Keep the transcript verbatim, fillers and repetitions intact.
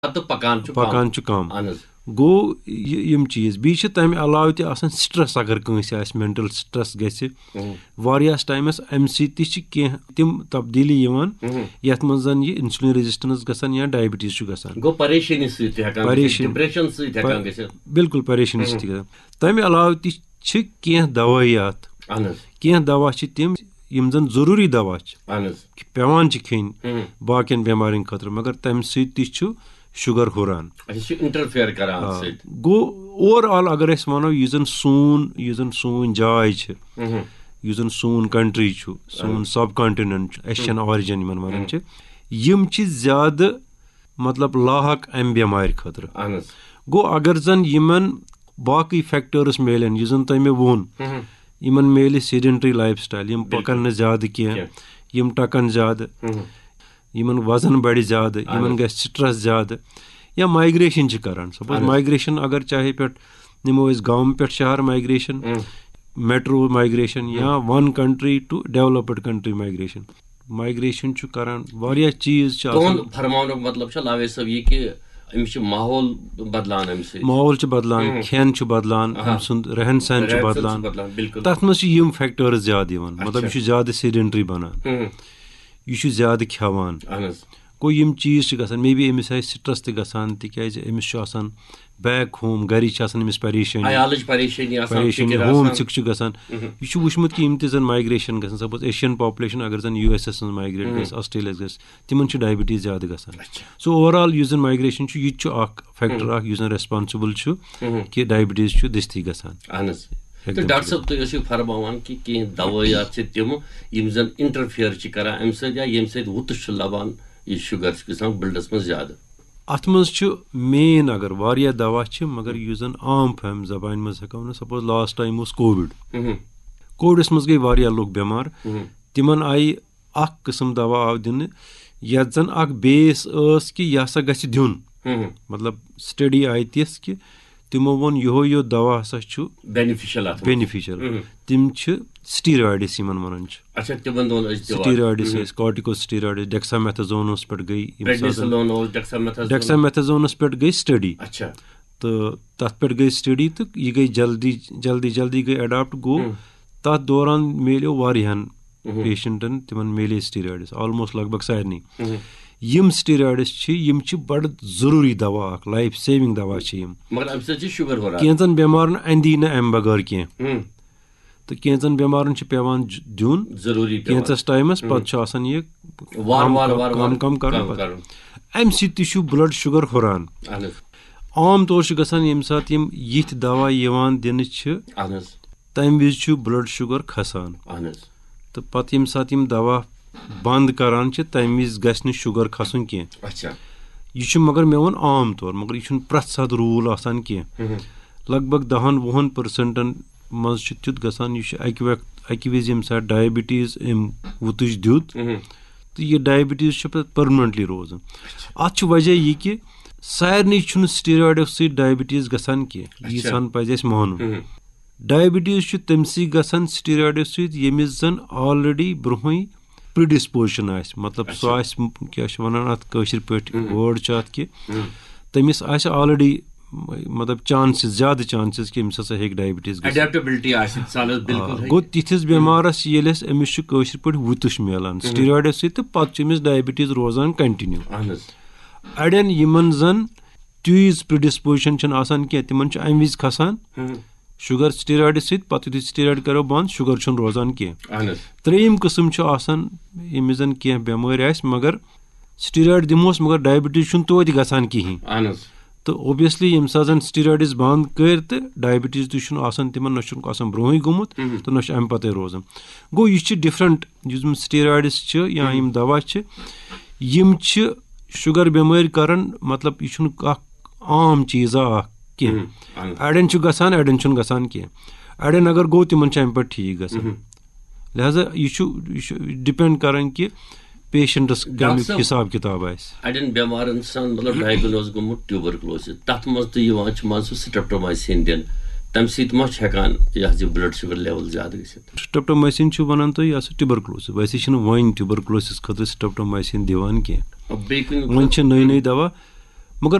پتہٕ پکان چھُ کم۔ پکان چھُ کم۔ اہن حظ۔ گوٚو یہِ- یِم چیٖز، بیٚیہِ چھِ تَمہِ علاوٕ تہِ آسان سٹرٛس، اگر کٲنٛسہِ آسہِ مینٹل سٹرٛس گژھِ، اہم۔ واریاہَس ٹایمَس اَمہِ سۭتۍ تہِ چھِ کینٛہہ تِم تبدیٖلی یِوان، اہم۔ یَتھ منٛز زَن یہِ انسولین ریزسٹنس گژھان یا ڈائبٹیز چھُ گژھان۔ گوٚو پریشٲنی سۭتۍ تہِ ہٮ۪کان گٔژھِتھ، پریشٲنی۔ ڈپریشن سۭتۍ ہٮ۪کان گٔژھِتھ۔ بالکل پریشٲنی سۭتۍ تہِ گژھان۔ تَمہِ علاوٕ تہِ چھِ کینٛہہ دوٲیات، اہن حظ۔ کینٛہہ دوا چھِ تِم یِم زَن ضروٗری دوا چھِ، اہن حظ۔ کہِ پٮ۪وان چھِ کھیٚنۍ اہم۔ باقین بٮ۪مارٮ۪ن خٲطرٕ، مگر تَمہِ سۭتۍ تہِ چھُ شُگر ہُران۔ اَسہِ چھُ انٹرفیئر کران اَتھ آ، سۭتۍ۔ گوٚو اوور آل اگر أسۍ وَنو، یُس زَن سون یُس زَن سون جاے چھِ، اہم۔ یُس زَن سون کنٹری چھُ، سون سب کانٹیننٹ چھُ، ایشین آرجن یِمن وَنان چھِ، یِم چھِ زیادٕ مطلب لاحق اَمہِ بٮ۪مارِ خٲطرٕ۔ اہن حظ۔ گوٚو اگر زَن یِمن باقٕے فیکٹٲرٕس میلن، یُس زَن تۄہہِ مےٚ ووٚن، اہم۔ یِمن میلہِ سیڈنٹری لایف سٹایل، یِم بالکل۔ پَکن نہٕ زیادٕ کینٛہہ، کینٛہہ۔ یِم ٹَکن زیادٕ، اہم۔ یِمن وزن بڑِ زیادٕ، یِمن حظ۔ گژھِ سٹرس زیادٕ، یا مایگریشن چھِ کران۔ سپوز اہن حظ۔ مایگریشن اگر چاہے پٮ۪ٹھ نِمو أسۍ گامہٕ پٮ۪ٹھ شہر مایگریشن، اہم۔ میٹرو مایگریشن یا ون کنٹری ٹو ڈیولپڈ کنٹری مایگریشن، مایگریشن چھُ کران، واریاہ چیٖز چھِ آسان۔ تُہُنٛد فرماونُک مطلب چھُ لاوے صٲب یہِ کہِ أمِس چھُ ماحول بدلان اَمہِ سۭتۍ۔ ماحول چھُ بدلان، اہم۔ کھٮ۪ن چھُ بدلان، اہا۔ أمۍ سُنٛد رہن سہن چھُ رہن سہن بدلان۔ بدلان، بالکل۔ تَتھ منٛز چھِ یِم فیکٹٲرٕز زیادٕ یِوان، مطلب اچھا۔ یہِ چھُ زیادٕ سیڈنٹری بنان، اہم۔ یہِ چھُ زیادٕ کھٮ۪وان۔ اہن حظ۔ گوٚو یِم چیٖز چھِ گژھان، مے بی أمِس آسہِ سٹرس تہِ گژھان، تِکیازِ أمِس چھُ آسان بیک ہوم، گرِچ چھِ آسان أمِس پریشٲنی، عیالٕچ پریشٲنی آسان، پریشٲنی، فِکر ہوم آسان۔ سِک چھُ گژھان۔ اہم۔ یہِ چھُ وٕچھمُت کہِ یِم تہِ زَن مایگریشن گژھان، سپوز ایشین پاپولیشن اگر زَن یوٗ ایس اَس منٛز مایگریٹ اہم۔ گژھِ، آسٹریلیاہَس گژھِ، تِمن چھُ ڈائبٹیز زیادٕ گژھان۔ اچھا۔ سو اوور آل یُس زَن مایگریشن چھُ، یہِ تہِ چھُ اکھ فیکٹر اکھ یُس زَن ریسپانسبل چھُ اہم۔ کہِ ڈائبٹیز چھُ دٔستی گژھان۔ اہن حظ۔ ہیٚکہِ تہٕ تِم ڈاکٹر تہِ صٲب، تُہۍ ٲسِو فرماوان کہِ کینٛہہ دوٲیات چھِ تِم، یِم زَن انٹرفیئر چھِ کران اَمہِ سۭتۍ یا ییٚمہِ سۭتۍ وُتُش چھُ لبان، یہِ شُگر چھُ گژھان بٕلڈَس منٛز زیادٕ۔ اتھ منٛز چھُ مین، اگر واریاہ دوا چھِ، مگر یُس زَن عام فہم زبانہِ منٛز ہٮ۪کو ؤنِتھ، سپوز لاسٹ ٹایم اوس کووِڈ۔ اہم۔ کووِڈس منٛز گٔے واریاہ لُکھ بٮ۪مار۔ اہم۔ تِمن آیہِ اکھ قٕسم دوا آو دِنہٕ، یتھ زَن اکھ بیس ٲس کہِ یہِ ہسا گژھِ دیُن۔ اہم۔ مطلب سٹڈی آیہِ تِژھ کہِ تِمو ووٚن یِہوے یوت دوا ہسا چھُ بینیفیشل اَتھ منٛز۔ بینیفیشل۔ اہم۔ تِم چھِ سٹیرایڈس یِمن وَنان چھِ۔ اچھا، تِمن دۄہن ٲسۍ دِوان۔ سٹیرایڈس ٲسۍ، کارٹیکو سٹیرایڈس، ڈیکسامیتھازونس پٮ۪ٹھ گٔے یِم سازن۔ پریڈنیسلون اوس، ڈیکسامیتھازون۔ ڈیکسامیتھازونس پٮ۪ٹھ گٔے سٹڈی۔ اچھا۔ تہٕ تَتھ پٮ۪ٹھ گٔے سٹڈی تہٕ یہِ گٔے جلدی جلدی جلدی گٔے اڈاپٹ گوٚو۔ ہم۔ تَتھ دوران میلیو واریاہن ہم۔ پیشنٹن، تِمن میلے سٹیرایڈس آلموسٹ لگ بگ سارنٕے۔ ہم۔ یِم سٹیرایڈس چھِ، یِم چھِ بڑٕ ضروٗری دوا اکھ، لایف سیونگ دوا چھِ یِم۔ مگر اَمہِ سۭتۍ چھِ شُگر ہُران۔ کینٛژن بٮ۪مارن اندی نہٕ امہِ بغٲر کینٛہہ۔ ہم۔ تہٕ کینٛژن بٮ۪مارن چھُ پٮ۪وان ج- دیُن ضروٗری پٮ۪وان۔ کینٛژس ٹایمس، ہم۔ پتہٕ چھُ آسان یہِ وارٕ کم وارٕ کم- وارٕ کم وارٕ کم کرُن کم پتہٕ۔ کرُن۔ امہِ سۭتۍ تہِ چھُ بلڈ شُگر ہُران۔ اہن حظ۔ عام طور چھُ گژھان ییٚمہِ ساتہٕ یِم یِتھۍ دوا یِوان دِنہٕ چھِ، اہن حظ۔ تمہِ وِزِ چھُ بلڈ شُگر کھسان۔ اہن حظ۔ تہٕ پتہٕ ییٚمہِ ساتہٕ یِم دوا بند کران چھِ، تمہِ وِزِ گژھِ نہٕ شُگر کھسُن کینٛہہ۔ اچھا۔ یہِ چھُ، مگر مےٚ ووٚن عام طور، مگر یہِ چھُنہٕ پرٛٮ۪تھ ساتہٕ روٗل آسان کینٛہہ۔ ہم۔ لگ بگ دہن وُہن پٔرسنٹن منٛز چھُ تیُتھ گژھان، یہِ چھُ اکہِ وقت، اکہِ وِزِ ییٚمہِ ساتہٕ ڈایبٹیز أمۍ وُتُج دیُت، ہم۔ تہٕ یہِ ڈایبٹیز چھُ پتہٕ پٔرمننٹلی روزان۔ اتھ چھُ وجہ یہِ کہِ سارنٕے چھُنہٕ سٹیرایڈو سۭتۍ ڈایبٹیز گژھان کینٛہہ، اچھا۔ ییٖژہن پزِ اَسہِ مانُن۔ ہم۔ ڈایبٹیز چھُ تٔمسٕے گژھان سٹیرایڈو سۭتۍ، ییٚمِس زن آلریڈی برونٛہٕے پرڈسپوزیشن آسہِ، مطلب سُہ اچھا۔ آسہِ، کیٛاہ چھِ ونان اتھ کٲشِر پٲٹھۍ، ہم۔ وٲڈ چھُ اتھ کہِ ہم۔ تٔمِس آسہِ آلریڈی، مطلب چانسز، زیادٕ چانسز کہِ أمِس ہسا ہیٚکہِ ڈایبٹیز گٔژھِتھ۔ اڈیپٹیبلٹی آسہِ، مثال حظ، بالکل آ، ہیٚکہِ۔ گوٚو تِتھِس بٮ۪مارس ییٚلہِ اَسہِ أمِس چھُ کٲشِر پٲٹھۍ وُتُش میلان سٹیرایڈس سۭتۍ، تہٕ پتہٕ چھُ أمِس ڈایبٹیز روزان کنٹِنیو۔ اہن حظ۔ اڑٮ۪ن یِمن زن تیٖژ پرڈسپوزیشن چھنہٕ آسان کینٛہہ، تِمن چھُ امہِ وِزِ کھسان ہم۔ شُگر سٹیرایڈٕ سۭتۍ، پتہٕ یُتھُے سٹیرایڈ کرو بند، شُگر چھُنہٕ روزان کینٛہہ۔ اہن حظ۔ ترٛیٚیِم قٕسم چھُ آسان، ییٚمِس زن کینٛہہ بٮ۪مٲرۍ آسہِ، مگر سٹیرایڈ دِموس، مگر ڈایبٹیز چھُنہٕ توتہِ گژھان کِہینۍ۔ اہن حظ۔ تہٕ اوبویسلی ییٚمہِ ساتہٕ زن سٹیرایڈس بند کٔرۍ تہٕ ڈایبٹیز تہِ چھُنہٕ آسان تِمن، نہ چھُنہٕ آسان برونٛہٕے گوٚمُت مہم۔ تہٕ نہ چھُ امہِ پتے روزان۔ گوٚو یہِ چھِ ڈفرنٹ، یُس زن سٹیرایڈس چھِ یا یِم دوا چھِ، یِم چھِ شُگر بٮ۪مٲرۍ کران، مطلب یہِ چھُنہٕ اکھ عام چیٖزا اکھ کینٛہہ۔ مہم۔ اہن حظ۔ اڑٮ۪ن چھُ گژھان، اڑٮ۪ن چھُنہٕ گژھان کینٛہہ۔ اڑٮ۪ن اگر گوٚو، تِمن چھُ امہِ پٮ۪ٹھ ٹھیٖک گژھان۔ مہم۔ لہذا یہِ چھُ، یہِ چھُ ڈپینڈ کران کہِ پیشنٹس ڈاکٹر کمیُک صٲب، حساب کتاب آسہِ۔ اڑٮ۪ن بٮ۪مارن چھُ آسان، مطلب، ڈائگنوز گوٚمُت ٹیوبرکلوسز، تتھ منٛز تہِ یِوان چھُ منٛزٕ سُہ سٹریپٹومائسین دِنہٕ، تمہِ سۭتۍ ما چھُ ہٮ۪کان یہِ حظ یہِ بلڈ شُگر لیول زیادٕ گٔژھِتھ؟ سٹریپٹومائسین چھُ ونان تُہۍ، یہِ ہسا ٹیوبرکلوسز، ویسے چھِنہٕ وۄنۍ ٹیوبرکلوسز خٲطرٕ سٹریپٹومائسین دِوان کینٛہہ۔ بیٚیہِ کُنہِ وۄنۍ چھِ نٔے نٔے دوا،